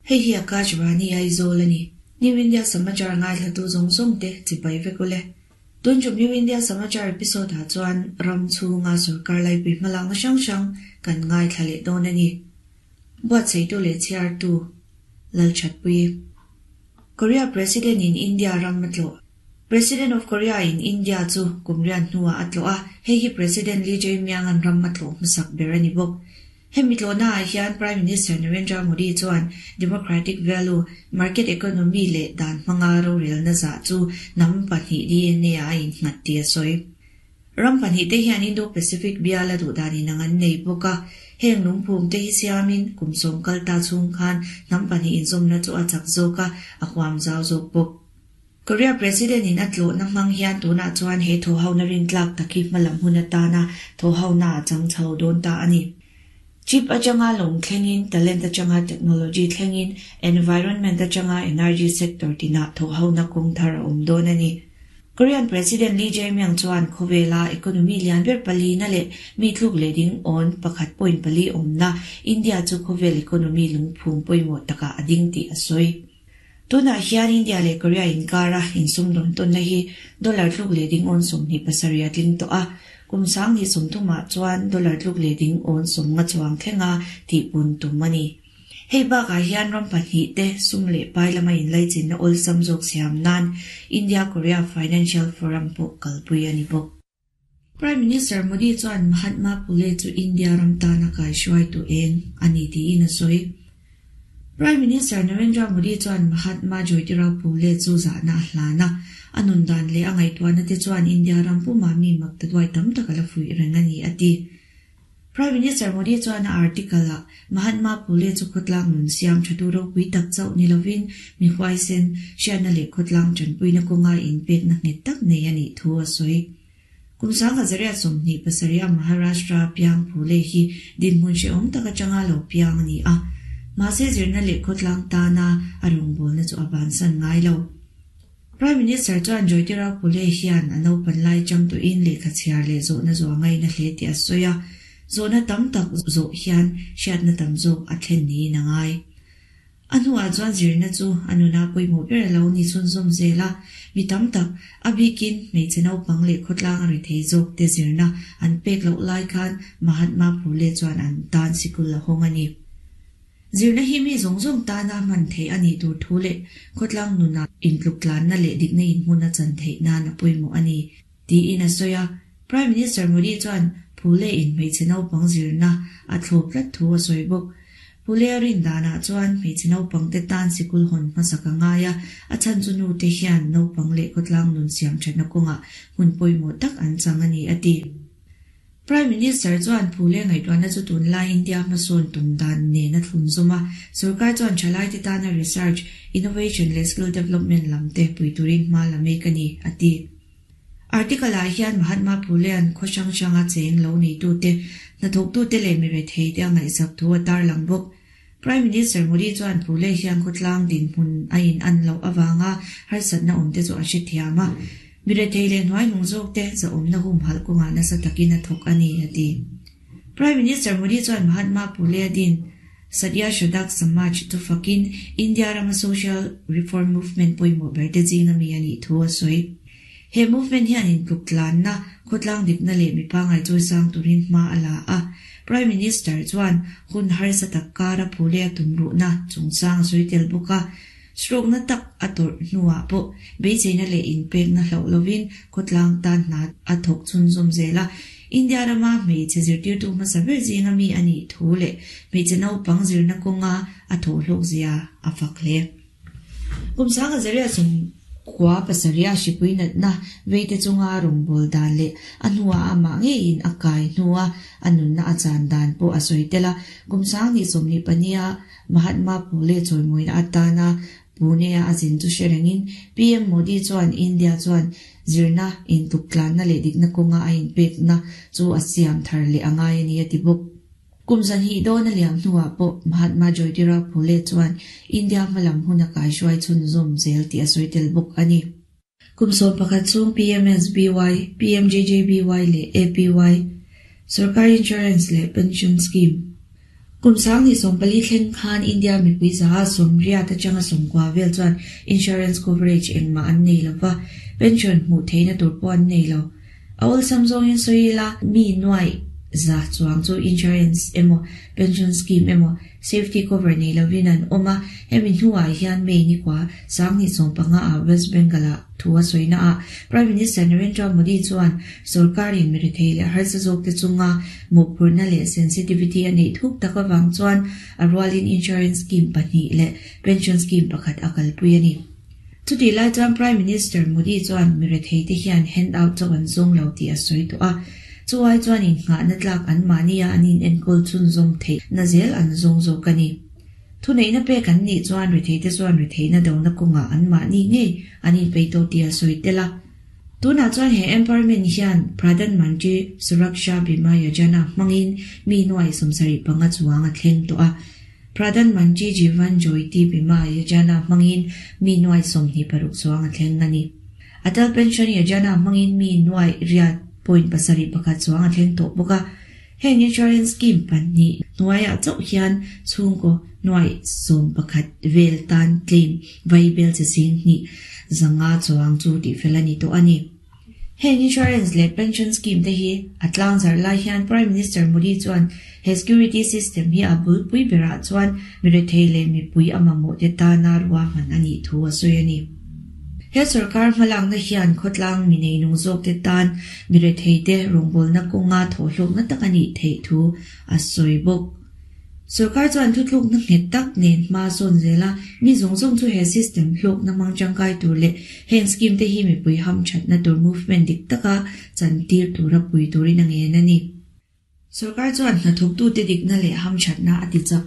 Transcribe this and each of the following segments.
Hei hi Akashvani Aizawl a ni. New India Samachar ngaithlatu zawng zawng te chipai vek ule. Tun tum New India Samachar episode ah chuan ram chhunga sorkar laipui hmalakna hrang hrang kan ngaithla leh dawn a ni. Buatsaihtu leh chhiartu Lalthatpuii. Korea President in India ram a tlawh. President of Korea in India chu kum rian hnuah a tlawh a, hei hi President Lee Jae-myung an ram a tlawh hmasak ber a ni bawk. Hemi tlawhnaah hian Prime Minister Narendra Modi chuan democratic value, market economy leh dan hmanga rorelna zah chu hnam pahnih DNA ah a innghat tih a sawi. Ram pahnihte hian Indo-Pacific biala duhdan inang an nei bawk a, heng lungphumte hi siamin kum sawm kal ta chhung khan hnam pahnih inzawmna chu a chak zawk a, a huam zau zawk bawk. Korea President in a tlawhna hmang hian tunah chuan he thawhhona rintlak tak hi hmalam hun atana thawhhona a chang chho dawn ta a ni. Chip atanga lawng thlengin, talent atanga technology thlengin, environment atanga energy sector tinah thawhhona kawng thar a awm dawn a ni. Korean President Lee Jae-myung chuan khawvela economy lian ber palina leh mi tluk leh ding awn pakhat point pali awmna India chu khawvel economy lungphum pawimawh takah a ding tih a sawi. Tunah hian India leh Korea inkara insumdawn tawnna hi dollar tluk leh ding awn 27 a tling tawh a, kum 2030ah chuan dollar tluk leh ding awn 50 chuang thlenga tihpun tum a ni. Hei bakah hian ram pahnihte sum leh pai lama inlaichinna awlsam zawk siam nan India-Korea Financial Forum pawh kalpui a ni bawk. Prime Minister Modi chuan Mahatma Phule chu India ram tana kaihruaitu eng a ni tiin a sawi. Prime Minister Narendra Modi chuan Mahatma Jyotirao Phule chu zahna a hlan a, a nun dan leh a ngaihtuahna te chuan India ram pumah mi maktaduai tam tak a la fuih reng a ni a ti. Prime Minister Modi chuan a article-ah Mahatma Phule chu khawtlang nun siam thatu ropui tak chauh ni lovin mi huaisen, hriatna leh khawtlang tanpuina kawnga inpekna nghet tak nei a nih thu a sawi. Kum 1927 a Maharashtra piang Phule hi dinhmun hrehawm tak atanga lo piang a ni a, mahse zirna leh khawtlang tana a rawngbawlna chu a bansan ngai lo. Prime Minister chuan Jyotirao Phule hian a naupan lai changtuin lehkha chhiar leh zawhna zawh a ngaina hle tih a sawi a, zawhna tam tak zawh hian hriatna tam zawk a thlen niin a ngai. A hnuah chuan zirna chu a nuna pawimawh ber a lo ni chhunzawm zel a, mi tam tak, a bikin hmeichhe naupang leh khawtlang a ri thei zawk te zirna an pek loh lai khan Mahatma Phule chuan an tan sikul a hawng a ni. Zirna hi mi zawng zawng tana hman theih a nih tur thu leh khawtlang nunah intluktlanna leh dikna inhmun a chan theih nan a pawimawh a ni, tiin a sawi a. Prime Minister Modi chuan Phule in hmeichhe naupang zirna a thlawp tlat thu a sawi bawk. Phule a rin danah chuan hmeichhe naupangte tan sikul hawn hmasak a ngai a, a chhan chu nute hian naupang leh khawtlang nun siam thatna kawngah hmun pawimawh tak an chang a ni, a ti. Prime Minister chuan Phule ngaihtuahna chu tunlai India hmasawn tum dan nen a thlun zawm a, sorkar chuan thalaite tana research, innovation leh skill development lam te pui turin hma la mek a ni, a ti. Article ah hian Mahatma Phulea'n khaw hrang hranga cheng lo neitute, hnathawktute leh mi retheite a ngaihsak thu a tarlang bawk. Prime Minister Modi chuan Phule hian khawtlang dinhmun a in an loh avanga harsatna awmte chu a hrethiam a, mi rethei leh hnuaihnung zawkte zahawmna humhalh kawngah nasa takin a thawk a ni, a ti. Prime Minister Modi chuan Mahatma Phule a din Satya Shradak Samaj chu fakin India rama social reform movement pawimawh berte zinga mi a nih thu a sawi. He movement hian intluk tlanna, khawtlang dikna leh mipa ngaihchawisang turin hma a la a. Prime Minister chuan hun harsa tak kara Phule a tumruhna chungchang a sawi tel bawk a. Stroke na tak a tawrh hnuah pawh beiseina leh inpekna hlauh lovin khawtlang tan hna a thawk chhunzawm zel a. India rama hmeichhe zirtirtu hmasa ber zinga mi a nih thu leh hmeichhe naupang zirna kawnga a thawhhlawk zia a fak hle. Kum 10,000 sum kua pasarih a hripui natna veite chunga rawngbâwl dan leh a hnuah amah ngeiin a kai hnua a nunna a chan dan pawh a sawi tel a. Kum 2024 a Mahatma Phule chawimawina atana Pune-a a zin chu hre rengin PM Modi chuan India chuan zirna, intuktlanna leh dikna kawnga a inpekna chu a siam thar leh a ngai a ni a ti bawk. Kum zanhnih dawn a liam hnuah pawh Mahatma Jyotirao Phule chuan India hmalam hun a kaihruai chhunzawm zel tih a sawi tel bawk a ni. Kum 11 chhung PMSBY, PMJJBY leh APY, Sarkar Insurance leh Pension Scheme. Kum 2014 thleng khan India mipui zaha 80 atanga 90 vel chuan insurance coverage engmah an nei lova, pension hmuh theihna tur pawh an nei lo. A awlsam zawngin sawi ila, mi nuaih za chuang chu insurance emaw pension scheme emaw safety cover nei lovin an awm a, hemi hnuah hian May ni kua 2015 ah West Bengal ah thu a sawina ah Prime Minister Narendra Modi chuan sorkarin mi rethei leh harsa zawkte chunga mawhphurhna leh sensitivity a neih thuk tak avang chuan a rualin insurance scheme pahnih leh pension scheme pakhat a kalpui a ni. Chutih lai chuan Prime Minister Modi chuan mi retheite hian handout chauh an zawng lo tih a sawi tawh a, chu ai chuan innghahna tlak an mahnia an inenkawl chhunzawm theihna zel an zawng zawk a ni. Thuneihna pek an nih chuan retheite chuan retheihna dona kawngah an mahni ngei an inpeih tawh tih a sawi tel a. Tunah chuan he empowerment hian Pradhan Mantri Suraksha Bima Yojana hmangin mi nuai 75 chuang a thleng tawh a. Pradhan Mantri Jeevan Jyoti Bima Yojana hmangin mi nuai 26 chuang a thleng a ni. Atal Pension Yojana hmangin mi nuai riat point pasarih pakhat chuang a thleng tawh bawk a. Heng insurance scheme pahnih hnuaiah chauh hian chhungkaw nuai 11 vel tan claim vai bel chi sing hnih zanga chuang chu tihfel a ni tawh a ni. Heng insurance leh pension scheme te hi a tlangzarh lai hian Prime Minister Modi chuan he security system hi a bulpui berah chuan mi rethei leh mipui a mamawh te tana ruahman a nih thu a sawi a ni. He sorkar hmalakna hian khawtlang mi neinung zawk te tan mi rethei te rawngbawlna kawnga thawhhlawkna tak a nih theih thu a sawi bawk. Sorkar chuan thuthlukna nghet tak nen hma sawn zel a, mi zawng zawng chu he system hlawkna hmang tangkai tur leh heng scheme te hi mipui hamthatna tur movement dik taka chantir tura pui turin a ngen a ni. Sorkar chuan hnathawktute dikna leh hamthatna a ti chak.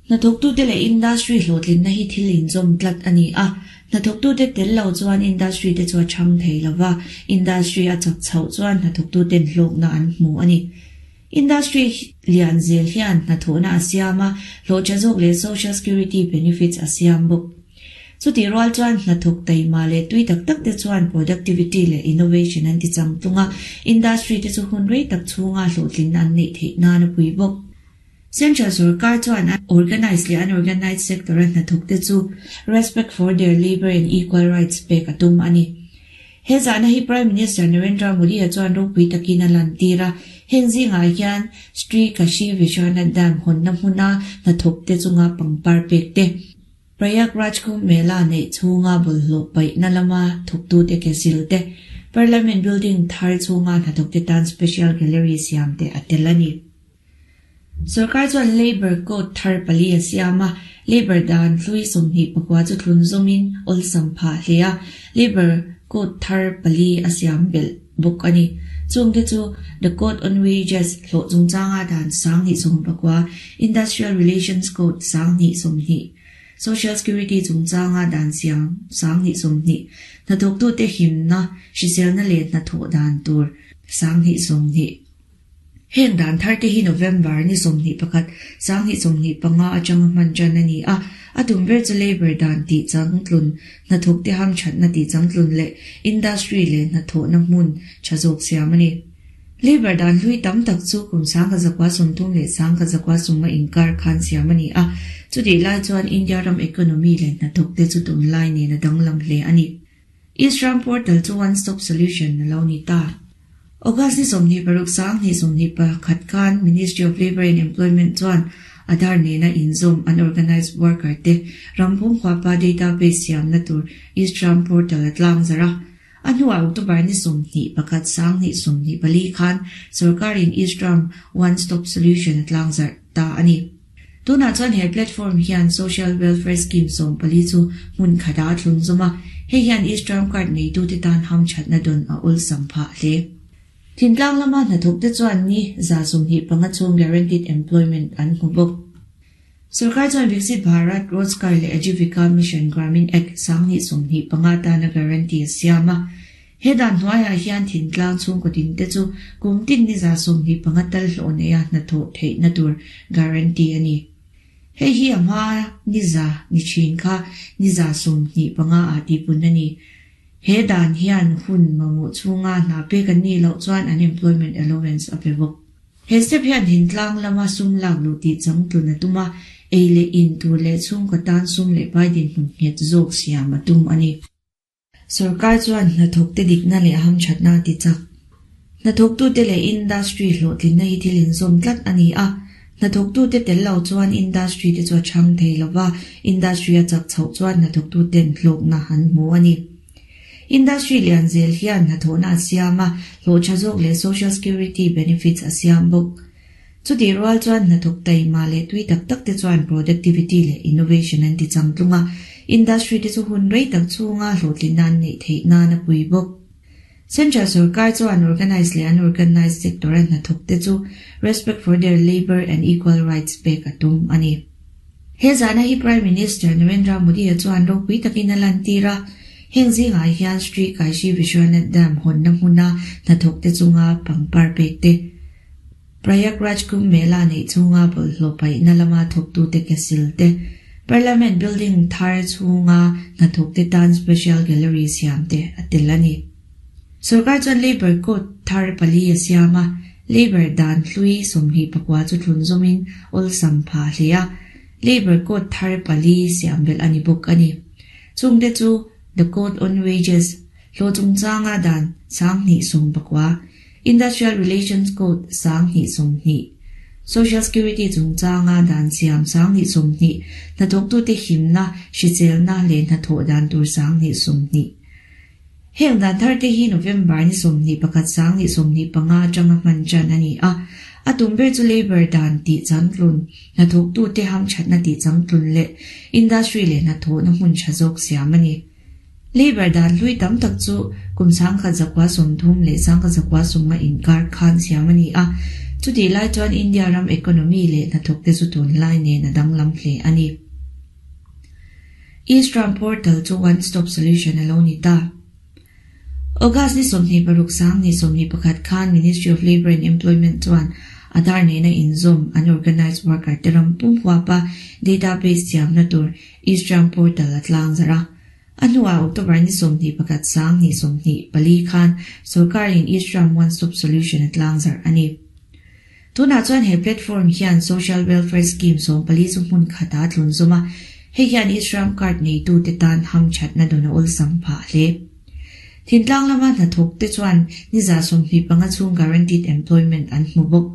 Hnathawktute leh industry hlawhtlinna hi thil inzawm tlat a ni a, hnathawktute tel lo chuan industry te chu a chhang thei lova, industry a chak chhoh chuan hnathawktuten hlawkna an hmu a ni. Industry lian zel hian hnathawhna a siam a, hlawhtha zawk leh social security benefits a siam bawk. Chutih rual chuan hnathawk taima leh tui tak tak te chuan productivity leh innovation an ti chang tlung a, industry te chu hun rei tak chhunga hlawhtlinna an neih theih nan a pui bawk. Central sorkar chuan organised leh unorganised sector a hnathawk te chu respect for their labour and equal rights pek a tum a ni. He zahna hi Prime Minister Narendra Modi-a chuan ropui takin a lantir a, heng zingah hian Sri Kashi Vishwanath Dam hawnna hmuna hnathawk te chunga pangpar pek te, Prayagraj Kumbh Mela neih chhunga bawlhhlawh paihna lama thawktute ke sil te, Parliament building thar chhunga hnathawkte tan special gallery siam te a tel a ni. Sorkar chuan Labour Code thar pali a siam a, Labour dan hlui 29 chu thlun zawmin awlsam phah hle a, Labour Code thar pali a siam belh bawk a ni. Chungte chu The Code on Wages hlawh chungchanga dan 2019, Industrial Relations Code 2020, Social Security chungchanga dan siam 2020, hnathawktute himna, hriselna leh hnathawh dan tur 2020. Heng dan thar te hi November ni 21, 2025 atanga hman tan a ni a, a tum ber chu labour dan tih changtlun, hnathawk te hamthatna tih changtlun leh industry leh hnathawhna hmun tha zawk siam a ni. Labour dan hlui tam tak chu kum 1930 leh 1990 inkar khan siam a ni a, chutih lai chuan India ram economy leh hnathawk te chu tunlai nen a danglam hle a ni. E-Shram portal chu one stop solution a lo ni ta. August ni 26 2021 khan Ministry of Labour and Employment chuan Aadhaar nena inzawm unorganised worker te rampum huapa database siamna tur e-Shram portal a tlangzarh a. A hnuah October ni 21 2024 khan sorkarin e-Shram one stop solution a tlangzarh ta a ni. Tunah chuan he platform hian social welfare scheme 14 chu hmun khatah a thlun zawm a, hei hian e-Shram card neitute tan hamthatna dawn a awlsam phah hle. Thintlang lama hnathawk te chuan ni 25 chhung guaranteed employment an hmu bawk. Sorkar chuan Viksit Bharat Rozgar leh Ajeevika Mission Gramin Act 2025 tana guarantee a siam a. He dan hnuaiah hian thintlang chhungkaw tin te chu kum tin ni 25 tal hlawh neia hnathawh theihna tur guarantee a ni. Hei hi a hma ni za ni thin kha ni 25 ah tihpun a ni. He dan hian hun mamawh chhunga hna pek an nih loh chuan unemployment allowance a pe bawk. He step hian thintlang lama sum lak luh tih changtlun a tum a, ei leh in tur leh chhungkaw tan sum leh pai dinhmun nghet zawk siam a tum a ni. Sorkar chuan hnathawkte dikna leh hamthatna a ti chak. Hnathawktute leh industry hlawhtlinna hi thil inzawm tlat a ni a, hnathawktute tel lo chuan industry te chu a chhang thei lo va, industry a chak chhoh chuan hnathawktuten hlawkna an hmu a ni. Industry lian zel hian hnathawhna a siam a, hlawh tha zawk leh social security benefits a siam bawk. Chutih rual chuan hnathawk taima leh tui tak tak te chuan productivity leh innovation an ti changtlung a, industry te chu hun rei tak chhunga hlawhtlinna an neih theih nan a pui bawk. Central sorkar chuan organised leh unorganised sector a hnathawk te chu respect for their labour and equal rights pek a tum a ni. He zana hi Prime Minister Narendra Modi-a chuan ropui takin a lantir a, heng zingah hian Sri Kashi Vishwanath Dam hawnna hmuna hnathawk te chunga pangpar pek te, Prayagraj Kumbh Mela neih chhunga bawlhhlawh paihna lama thawktute ke sil te, Parliament building thar chhunga hnathawkte tan special gallery siam te a tel a ni. Sorkar chuan Labour Code thar pali a siam a, Labour dan hlui 24 chu thlun zawmin awlsam phah hle a, Labour Code thar pali siam belh a ni bawk a ni. Chungte chu The Code on Wages, hlawh chungchanga dan 2019, Industrial Relations Code 2020, Social Security chungchanga dan siam 2020, hnathawktute himna, hriselna leh hnathawh dan tur 2020. Heng dan thar te hi November ni 21 2025 atanga hman tan a ni a, a tum ber chu Labour dan tih changtlun, hnathawktute hamthatna tih changtlun leh industry leh hnathawhna hmun tha zawk siam a ni. Labour dan hlui tam tak chu kum 1930 leh 1950 inkar khan siam a ni a, chutih lai chuan India ram economy leh hnathawkte chu tunlai nen a danglam hle a ni. E-Shram Portal chu one stop solution a lo ni ta. August ni 26 2021 khan Ministry of Labour and Employment chuan Aadhaar nena inzawm unorganised worker te ram pum huapa database siamna tur E-Shram Portal a tlang zarh a. A hnuah October ni 21 2024 khan sorkarin E-Shram One Stop Solution a tlang zarh a ni. Tunah chuan he platform hian social welfare scheme 14 chu hmun khatah a tlun zawm a, hei hian e-Shram card neitute tan hamthatna dawn a awlsam phah hle. Thintlang lama hnathawk te chuan ni 25 chhung guaranteed employment an hmu bawk.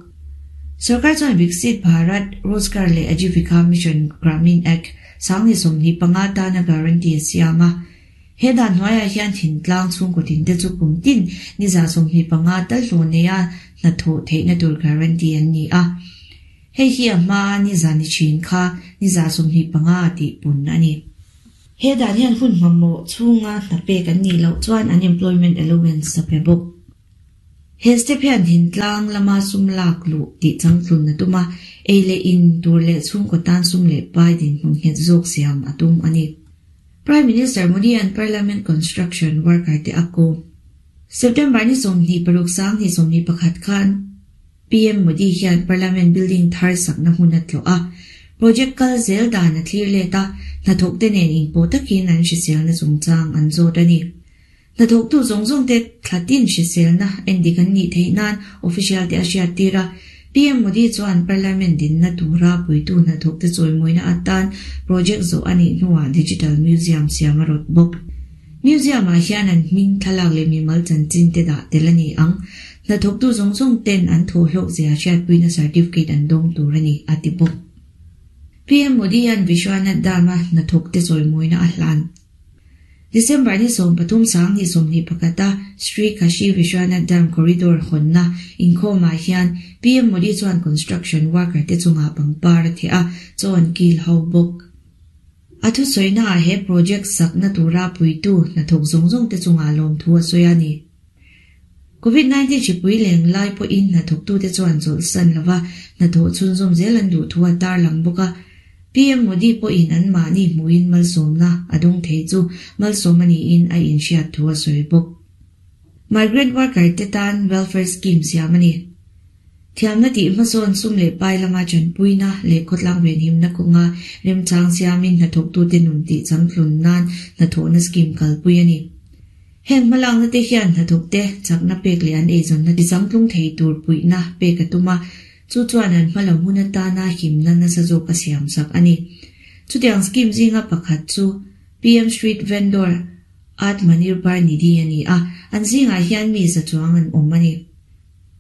Sorkar chuan Viksit Bharat Rozgar leh Ajeevika Mission Gramin Act 2025 tana guarantee a siam a. He dan hnuaiah hian thintlang chhungkaw tinte chu kum tin ni 25 tal hlawh neia hnathawh theihna tur guarantee an ni a. Hei hi a hma ni za ni thin kha ni 25 tih pun a ni. He dan hian hun hmamawh chhunga hna pek an nih loh chuan unemployment allowance a pe bawk. He step hian thintlang lama sum lak luh tih changtlun a tum a, ei leh in tur leh chhungkaw tan sum leh pai dinhmun nghet zawk siam a tum a ni. Prime Minister Modi an Parliament construction worker te a kawm. September ni 26 2021 khan PM Modi hian Parliament building thar sakna hmun a tlawh a, project kal zel dan a thlir let a, hnathawk te nen inpawh takin an hriselna chungchang an zawt a ni. Hnathawktu zawng zawng te thlatin hriselna endik an nih theih nan official te a hriat tir a, PM Modi chuan Parliament dinna tura puitu hnathawk te chawimawina atan project zawh a nih hnuah Digital Museum siam a rawt bawk. Museum ah hian an hming thlalak leh mimal chanchin te dah tel a ni ang. Hnathawktu zawng zawng ten an thawhhlawk zia hriatpuina certificate an dawng tur a ni, a ti bawk. PM Modi hian Vishwanath Dam-a hnathawk te chawimawina a hlan. December ni 13 2021 a Sri Kashi Vishwanath Dham Corridor hawnna inkhawmah hian PM Modi chuan construction worker te chungah pangpar a theh a, chaw an kil ho bawk. A thusawiнаah he project sakna tura puitu hnathawk zawng zawng te chungah lawmthu a sawi a ni. Covid-19 hripui leng lai pawhin hnathawktute chuan chawlhsan lova hnathawh chhunzawm zel an duh thu a tarlang bawk a. PM Modi pawhin an mahni hmuhin malsawmna a dawng thei chu malsawm a niin a inhriat thu a sawi bawk. Migrant worker te tan welfare scheme siam a ni. Thiamna tih hmasawn sum leh pai lama tanpuina leh khawtlang venhimna kawnga remchang siamin hnathawktute nun tih changtlun nan hnathawhna scheme kalpui a ni. Heng hmalakna te hian hnathawk te chakna pek leh an eizawnna tizangtlung thei tur puihna pek a tum a, chu chuan an hma lo hmun atana himna nasa zawk a siamsak a ni. Chutiang scheme zinga pakhat chu PM Street Vendor Atmanirbhar Nidhi a ni a, an zingah hian mi za chuang an awm a ni.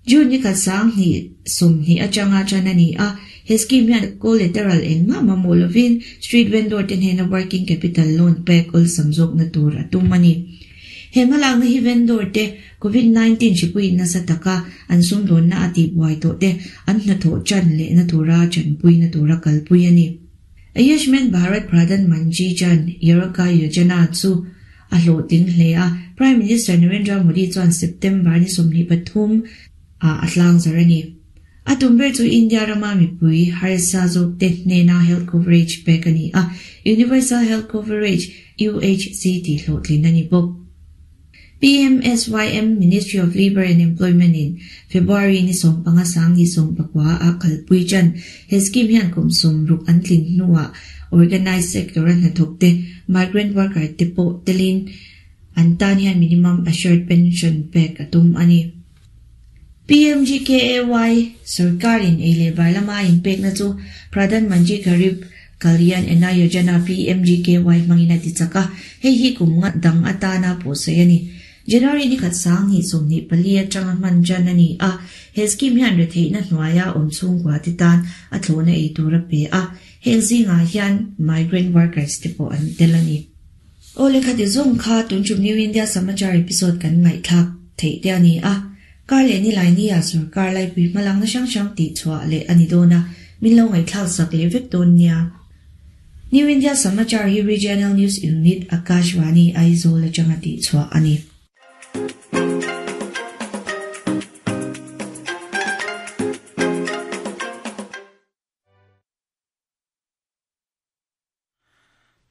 June ni khat 2020 atanga tan a ni a, he scheme hian collateral engmah mamawh lovin street vendor te hnena working capital loan pek awlsam zawkna tur a tum a ni. He hmalakna hi vendor te Covid 19 hripuiin nasa taka an sumdawnna a tihbuai tawh te an hnathawh tan lehna tura tanpuina tura kalpui a ni. Ayushman Bharat Pradhan Mantri Jan Arogya Yojana chu a hlawhtling hle a, Prime Minister Narendra Modi chuan September ni 23 ah a tlang zar a ni. A tum ber chu India rama mipui harsa zawk te hnena health coverage pek a ni a, Universal Health Coverage, UHC tih hlawhtlin a ni bawk. PMSYM Ministry of Labour and Employment in February ni 15 2019 a kalpui tan. He scheme hian kum 60 an tlin hnuah organised sector a hnathawk te migrant worker te pawh telin an tan hian minimum assured pension pek a tum a ni. PMGKAY sarkarin ei leh bar lama inpekna chu Pradhan Mantri Garib Kalyan Anna Yojana PMGKY hmangin a ti chak a, hei hi kum nga dang atana pawhsawi a ni. January ni khat 2024 atanga hman tan a ni a, he scheme hian retheihna hnuaia awm chhungkua te tan a thlawhna ei tur a pe a, heng zingah hian migrant workers te pawh an tel a ni. Aw le khati zawng kha tun tum New India Samachar episode kan ngaihthlak theih te a ni a, kar leh ni lai ni ah sarkar laipui hmalakna hrang hrang tih chhuah leh a ni dawn a, min lo ngaihthlak sak leh vek dawn nia. New India Samachar hi Regional News Unit Akashvani Aizawl atanga tih chhuah a ni.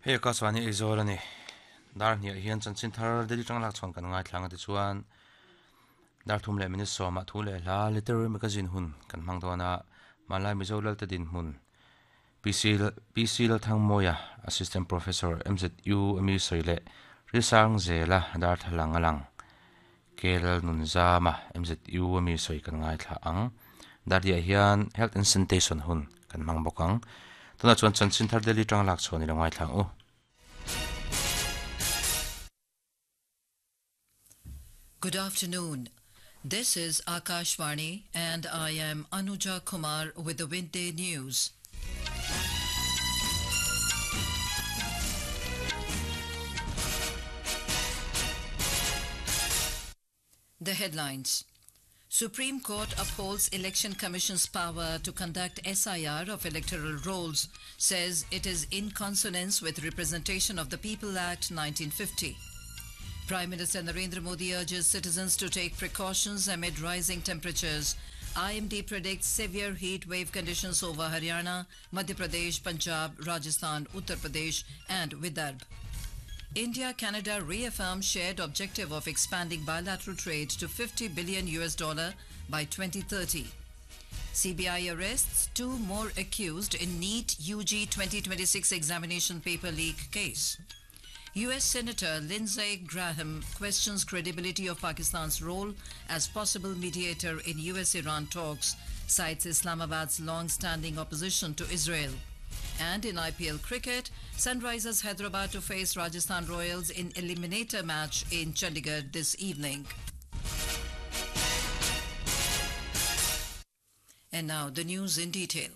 Hei Akashvani Aizawl a ni. Dar hniah hian chanchin thar Delhi tang lak chhuan kan ngaithlang a tichuan dar thum leh minute sawmah thu leh hla literary magazine hun kan hmang dawn a, hmanlai Mizo Lalte dinhmun PC PC Lalthangmawia Assistant Professor MZU ami sawi leh Risang Zela darthlalang a lang. K Lalnunzama MZU ami sawi kan ngaithla ang. Dardiah hian Health and Sanitation hun kan hmang bawk ang. Tunah chuan chanchin thar Delhi tang lak chhuah ni lo ngaithla ang u. Good afternoon. This is Akashvani and I am Anuja Kumar with the Midday News. The headlines. Supreme Court upholds Election Commission's power to conduct SIR of electoral rolls, says it is in consonance with Representation of the People Act 1950. Prime Minister Narendra Modi urges citizens to take precautions amid rising temperatures. IMD predicts severe heat wave conditions over Haryana, Madhya Pradesh, Punjab, Rajasthan, Uttar Pradesh, and Vidarbha. India Canada reaffirm shared objective of expanding bilateral trade to 50 billion US dollar by 2030. CBI arrests two more accused in NEET UG 2026 examination paper leak case. US Senator Lindsey Graham questions credibility of Pakistan's role as possible mediator in US Iran talks, cites Islamabad's long standing opposition to Israel. And in IPL cricket, Sunrisers Hyderabad to face Rajasthan Royals in eliminator match in Chandigarh this evening. And now the news in detail.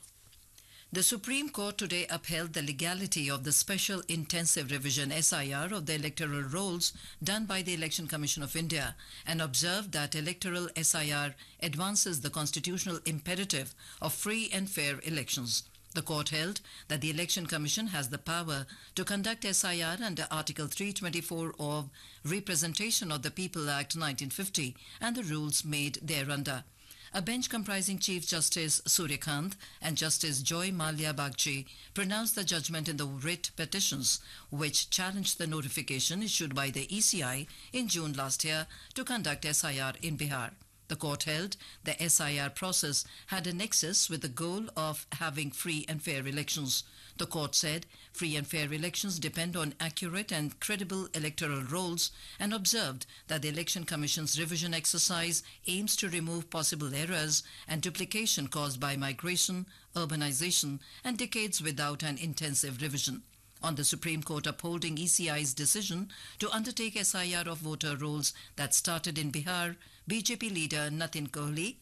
The Supreme Court today upheld the legality of the Special Intensive Revision SIR of the electoral rolls done by the Election Commission of India and observed that electoral SIR advances the constitutional imperative of free and fair elections. The court held that the Election Commission has the power to conduct SIR under Article 324 of Representation of the People Act 1950 and the rules made thereunder. A bench comprising Chief Justice Suryakant and Justice Joy Malia Bagchi pronounced the judgment in the writ petitions, which challenged the notification issued by the ECI in June last year to conduct SIR in Bihar. The court held the SIR process had a nexus with the goal of having free and fair elections. The court said free and fair elections depend on accurate and credible electoral rolls and observed that the Election Commission's revision exercise aims to remove possible errors and duplication caused by migration, urbanization, and decades without an intensive revision. On the Supreme Court upholding ECI's decision to undertake SIR of voter rolls that started in Bihar, BJP leader Natin Kohli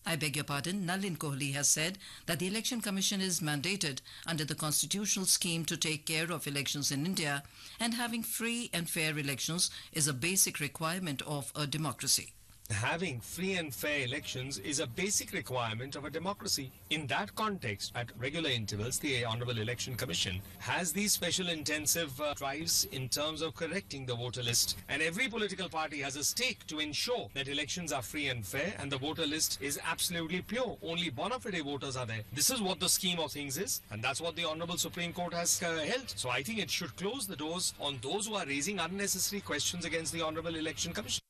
I beg your pardon, Nalin Kohli has said that the Election Commission is mandated under the constitutional scheme to take care of elections in India and having free and fair elections is a basic requirement of a democracy. Having free and fair elections is a basic requirement of a democracy. In that context, at regular intervals, the Honorable Election Commission has these special intensive drives in terms of correcting the voter list. And every political party has a stake to ensure that elections are free and fair and the voter list is absolutely pure. Only bona fide voters are there. This is what the scheme of things is, and that's what the Honorable Supreme Court has held. So I think it should close the doors on those who are raising unnecessary questions against the Honorable Election Commission.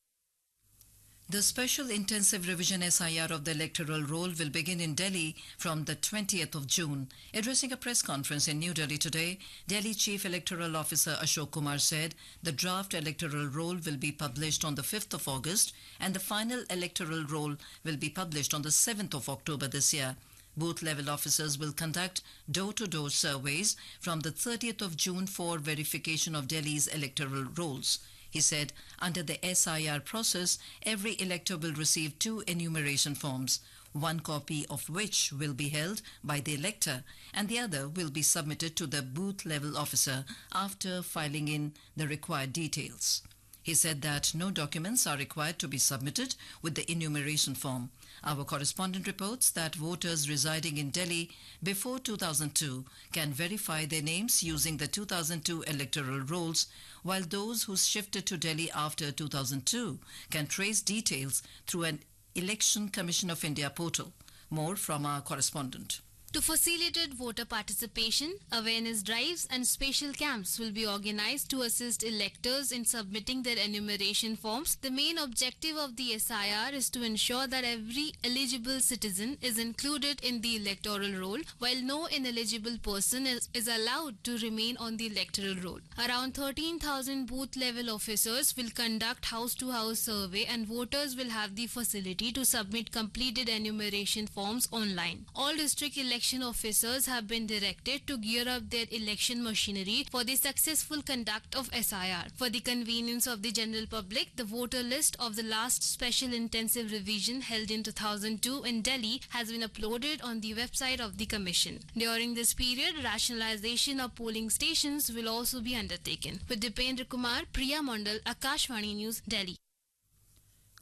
The Special Intensive Revision SIR of the electoral roll will begin in Delhi from the 20th of June. Addressing a press conference in New Delhi today, Delhi Chief Electoral Officer Ashok Kumar said the draft electoral roll will be published on the 5th of August and the final electoral roll will be published on the 7th of October this year. Booth level officers will conduct door to door surveys from the 30th of June for verification of Delhi's electoral rolls. He said under the SIR process, every elector will receive two enumeration forms, one copy of which will be held by the elector and the other will be submitted to the booth level officer after filing in the required details. He said that no documents are required to be submitted with the enumeration form. Our correspondent reports that voters residing in Delhi before 2002 can verify their names using the 2002 electoral rolls, while those who shifted to Delhi after 2002 can trace details through an Election Commission of India portal. More from our correspondent. To facilitate voter participation, awareness drives and special camps will be organized to assist electors in submitting their enumeration forms. The main objective of the SIR is to ensure that every eligible citizen is included in the electoral roll, while no ineligible person is, is allowed to remain on the electoral roll. Around 13,000 booth level officers will conduct house to house survey and voters will have the facility to submit completed enumeration forms online. All district election officers have been directed to gear up their election machinery for the successful conduct of SIR. For the convenience of the general public, the voter list of the last special intensive revision held in 2002 in Delhi has been uploaded on the website of the commission. During this period, rationalization of polling stations will also be undertaken. With Dipendra Kumar, Priya Mondal, Akashvani News, Delhi.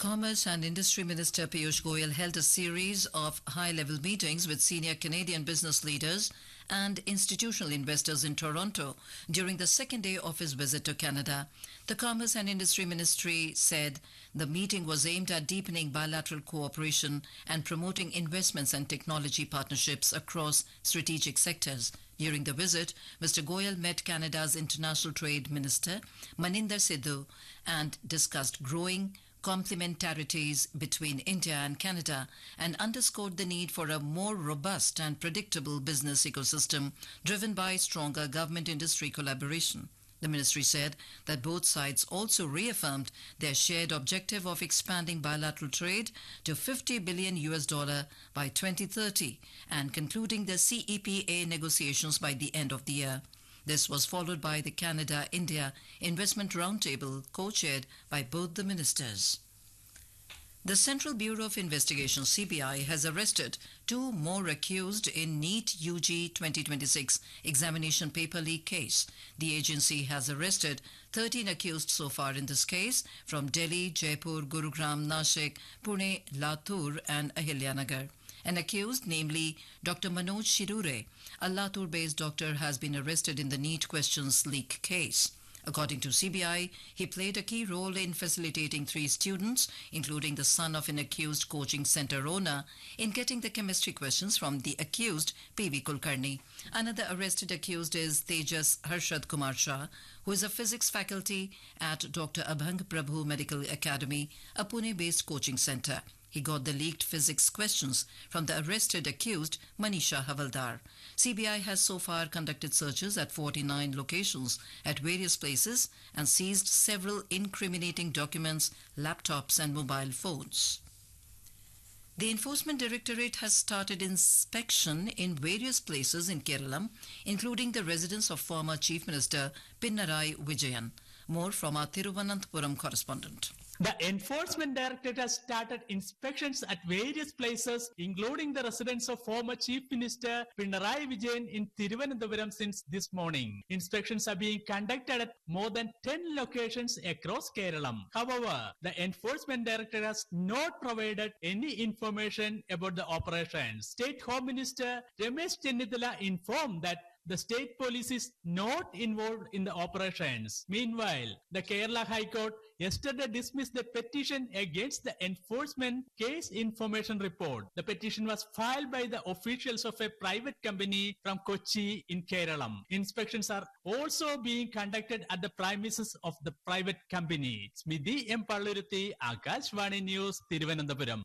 Commerce and Industry Minister Piyush Goyal held a series of high-level meetings with senior Canadian business leaders and institutional investors in Toronto during the second day of his visit to Canada. The Commerce and Industry Ministry said the meeting was aimed at deepening bilateral cooperation and promoting investments and technology partnerships across strategic sectors. During the visit, Mr. Goyal met Canada's International Trade Minister Maninder Sidhu and discussed growing complementarities between India and Canada and underscored the need for a more robust and predictable business ecosystem driven by stronger government industry collaboration. The ministry said that both sides also reaffirmed their shared objective of expanding bilateral trade to 50 billion US dollar by 2030 and concluding the CEPA negotiations by the end of the year. This was followed by the Canada India Investment Roundtable, co chaired by both the ministers. The Central Bureau of Investigation CBI has arrested two more accused in NEET UG 2026 examination paper leak case. The agency has arrested 13 accused so far in this case from Delhi, Jaipur, Gurugram, Nashik, Pune, Latur and Ahilyanagar. An accused, namely Dr. Manoj Shirure, a Latur based doctor, has been arrested in the NEET questions leak case. According to CBI, he played a key role in facilitating three students, including the son of an accused coaching center owner, in getting the chemistry questions from the accused, PV Kulkarni. Another arrested accused is Tejas Harshad Kumar Shah, who is a physics faculty at Dr. Abhang Prabhu Medical Academy, a Pune based coaching center. He got the leaked physics questions from the arrested accused Manisha Havaldar. CBI has so far conducted searches at 49 locations at various places and seized several incriminating documents, laptops and mobile phones. The Enforcement Directorate has started inspection in various places in Kerala, including the residence of former Chief Minister Pinarayi Vijayan. More from our Thiruvananthapuram correspondent. The Enforcement Directorate has started inspections at various places, including the residence of former Chief Minister Pinarayi Vijayan in Thiruvananthapuram since this morning. Inspections are being conducted at more than 10 locations across Kerala. However, the Enforcement Directorate has not provided any information about the operations. State Home Minister Ramesh Chennithala informed that the state police is not involved in the operations. Meanwhile, the Kerala High Court yesterday dismissed the petition against the enforcement case information report. The petition was filed by the officials of a private company from Kochi in Kerala. Inspections are also being conducted at the premises of the private company. Smiti M. Palluruthi, Akashvani News, Thiruvananthapuram.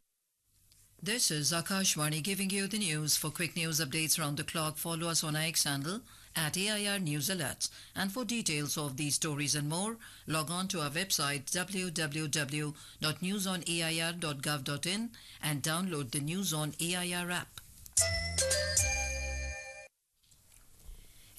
This is Akashvani giving you the news. For quick news updates round the clock, follow us on our X handle at AIR News Alerts. And for details of these stories and more, log on to our website www.newsonair.gov.in and download the News on AIR app.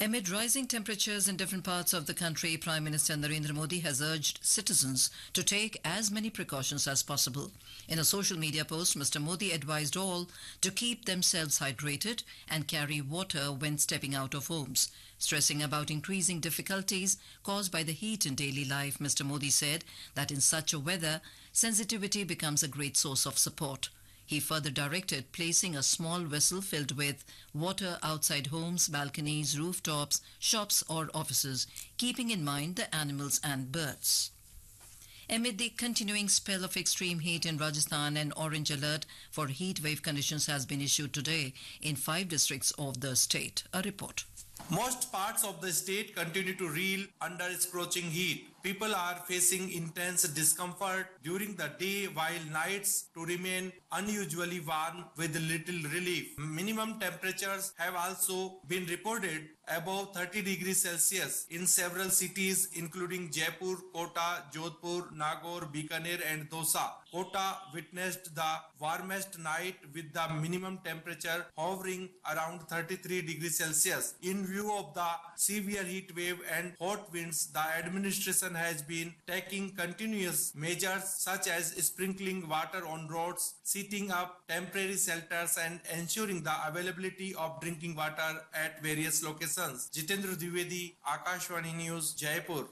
Amid rising temperatures in different parts of the country, Prime Minister Narendra Modi has urged citizens to take as many precautions as possible. In a social media post, Mr. Modi advised all to keep themselves hydrated and carry water when stepping out of homes. Stressing about increasing difficulties caused by the heat in daily life, Mr. Modi said that in such a weather, sensitivity becomes a great source of support. He further directed placing a small vessel filled with water outside homes, balconies, rooftops, shops, or offices, keeping in mind the animals and birds. Amid the continuing spell of extreme heat in Rajasthan, an orange alert for heat wave conditions has been issued today in five districts of the state. A report. Most parts of the state continue to reel under scorching heat. People are facing intense discomfort during the day while nights to remain unusually warm with little relief. Minimum temperatures have also been reported above 30 degrees Celsius in several cities including Jaipur, Kota, Jodhpur, Nagaur, Bikaner and Dosa. Kota witnessed the warmest night with the minimum temperature hovering around 33 degrees Celsius. In view of the severe heat wave and hot winds, the administration has been taking continuous measures such as sprinkling water on roads, setting up temporary shelters and ensuring the availability of drinking water at various locations. Jitendra Dwivedi, Akashvani News, Jaipur.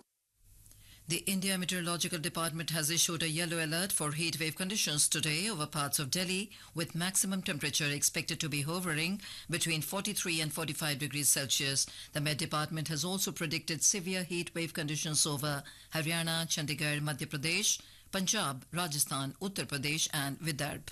The India Meteorological Department has issued a yellow alert for heat wave conditions today over parts of Delhi, with maximum temperature expected to be hovering between 43 and 45 degrees Celsius. The Met Department has also predicted severe heat wave conditions over Haryana, Chandigarh, Madhya Pradesh, Punjab, Rajasthan, Uttar Pradesh, and Vidarbha.